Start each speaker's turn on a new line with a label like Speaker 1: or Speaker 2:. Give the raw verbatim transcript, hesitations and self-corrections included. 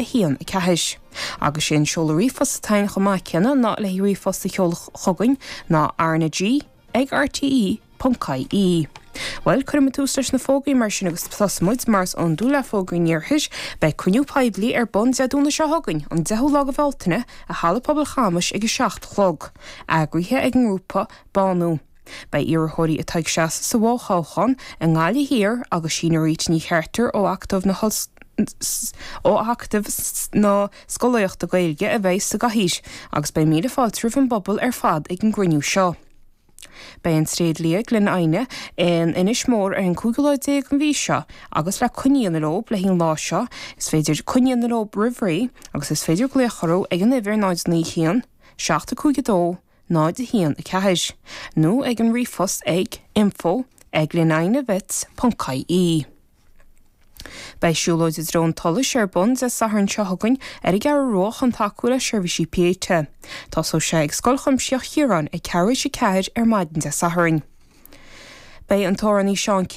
Speaker 1: a haon a ceathair. Agus sé an seoladh ríomhphost atá ann chomh maith céanna ná le ríomhphost a sheoladh chugainn ná RnaG ag RTE ponc IE. Well cuirfidh mé tús leis na fógraí mar sin agus tosóidh muid mar is iondúil le fógraí an iarthair, beidh cruinniú poiblí ar bun Dé Domhnaigh seo chugainn an deichiú lá de Bhealtaine i Halla Pobail Chamais ag a seacht a chlog, eagraithe ag an ngrúpa Bánú. Beidh iarrthóirí atá ag seasamh sa bhfothoghchán i nGaillimh Thiar agus Síne Rita Ní Chartúir ó Acadamh na ó Acadamh na Scolaíochta Gaeilge a bheidh sa gcathaoir, agus beidh míle fáilte roimh an bpobal ar fad ag an gcruinniú seo. Beidh an tréidlia Glen Aine in Inis Mór ar an cúigiú lá déag an mhí seo agus le coinne a dhéanamh leo le haghaidh an lá seo, is féidir coinne a dhéanamh leo roimh ré agus is féidir glaoch orthu ag an uimhir náid naoi haon, seacht a cúig a dó, náid a haon a ceathair, nó ag an ríomhphost ag info ag glenainevets ponc IE. Beidh siúlóid i dtreo an tsolais ar bun Dé Sathairn seo chugainn ar an gCeathrú Rua chun tacú le seirbhísí piéite. Tosóidh sé ag Scoil Chuimsitheach Chiaráin ag ceathrú théis a ceathair ar maidin Dé Sathairn. Beidh an t-amhránaí Seán